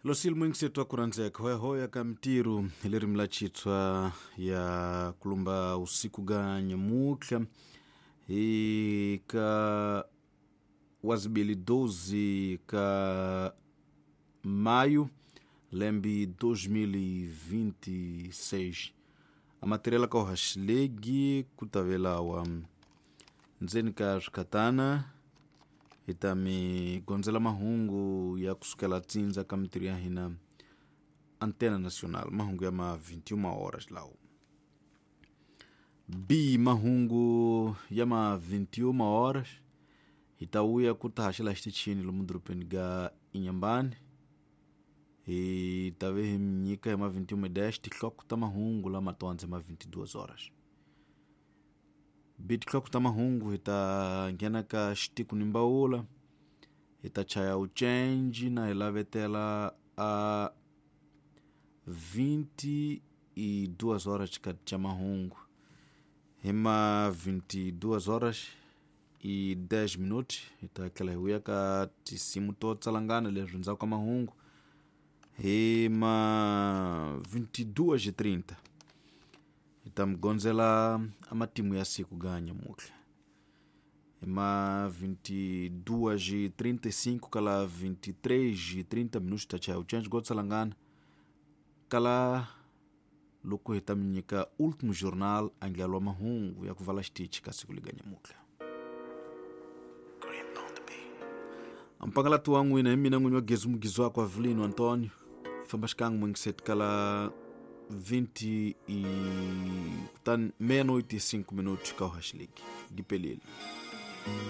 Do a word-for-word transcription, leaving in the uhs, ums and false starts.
Losil mwingisetu wa kuranzeka hoyahoya ka mtiru lerimi la chitswa ya kulumba usiku ga nyamutlha hi ka wazibili doze ka maio lembe dois mil e vinte e seis. A matéria ka ohaxilegi kutavelawa ndzeni ka swikhatana hi ta mi gondzela mahungu ya kusukela tsindza ka mintirho ya hina Antena Nacional, mahungu ya ma vinte e uma horas lawo. B mahungu ya ma vinte e uma horas hi ta vuya ku ta haxela xitichini lomu dorobeni ga Inhambane. Hi ta ve hi mi nyika hi ma vinte e uma e dez tinhloko ta mahungu lama to ma vinte e duas horas. B tinhloko ta mahungu hi ta nghena ka xitiku ni mbawula, hi ta chaya uchenji na hi lavetela a vinte e duas horas xikati xa mahungu. Hi ma vinte e duas horas e dez minutos hi ta tlhela hi vuya ka tinsimu to tsalangana leswi ndzhaku ka mahungu. Hi ma vinte e duas e trinta hi ta mi gondzela a matimu ya siku ga nyamutlha. Hi ma vinte e duas e trinta e cinco kala vinte e três e trinta minutos ta chaya uchenji go tsalangana kala loko hi ta mi nyika último jornal andlalo wa mahungu ya ku vala xitichi ka siku liga nyamutlha. Mpangalati wa n'wina hi mina n'winyi wa gezi mugizi wakwe Avelino Antonio. Famba xikan'we mwingiseti kala vinte e kutani meia-noite e cinco minutos ka Ohaxiligi. Gipelile.